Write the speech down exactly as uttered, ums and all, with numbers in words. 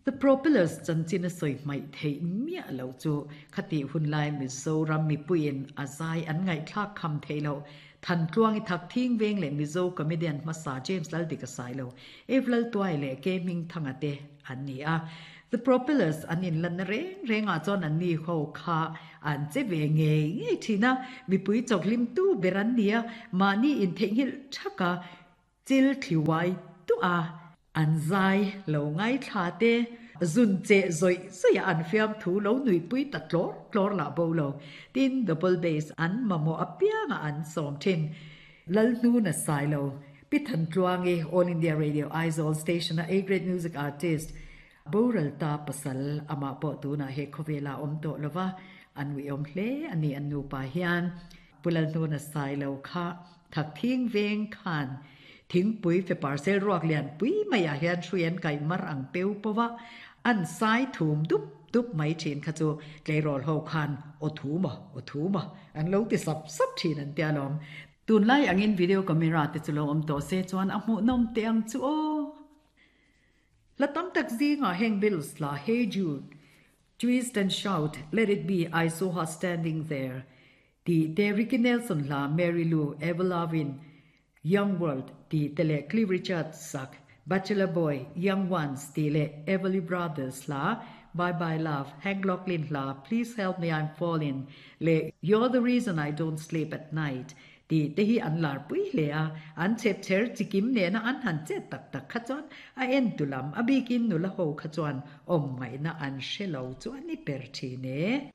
The Propellers chanchin a sawi hmaih theih miah loh chu khatih hun lai Mizoram mipuiin a zai an ngaihthlak kham theih loh. Thantluangi Thakthing Veng leh Mizo comedian hmasa James Laldika Sailo, Ev Laltuai leh K Hmingthanga te an ni a. The Propellers an inlanna reng rengah chuan an ni ho kha an che ve ngei ngei thin a, mipui chawkhlimtu ber an ni a, mahni intheihnghilh thaka chil thliuai duah a. An zai lo ngaithla te, zun cheh zawih zawih a an fiam thu lo nuipui ta tlawr tlawr lah bo lo. Tin, double bass an mamawh apianga an sawm thin. Lalhnuna Sailo, Pi Thantluangi, All India Radio Aizawl Station a A Grade Music Artist, boral ta pasal amah pawh tunah he khawvela awm tawh lova an uiawm hle a ni an nupa hian. Pu Lalhnuna Sailo kha Thakthing veng khan Thingpui fe parcel ruak lian pui maiah hian hrui an kaih mar ang peu pawh a, an sai thum dup dup mai thin kha chu tleirawl ho khan aw thu maw, aw thu maw an lo ti sap sap thin an tia lawm. Tunlai angin video camera te chu lo awm tawh se chuan a hmuhnawm teh ang chu aw. Hla tam tak zingah heng Beatles hla Hey Jude, Twist and Shout, Let It Be, I Saw Her Standing There tih te, Ricky Nelson hla Mary Lou, Ever Lovin', Young World tih te leh Cliff Richard sak Bachelor Boy, Young Ones tih leh Everly Brothers hla Bye Bye Love, Hank Locklin hla Please Help Me I'm Falling leh You're the Reason I Don't Sleep at Night tih te hi an lar pui hle a, an chhep chher chikim nena an han chet tak tak kha chuan a en tu lam a bikin nula ho kha chuan awm ngaihna an hre lo chu a ni per thin e.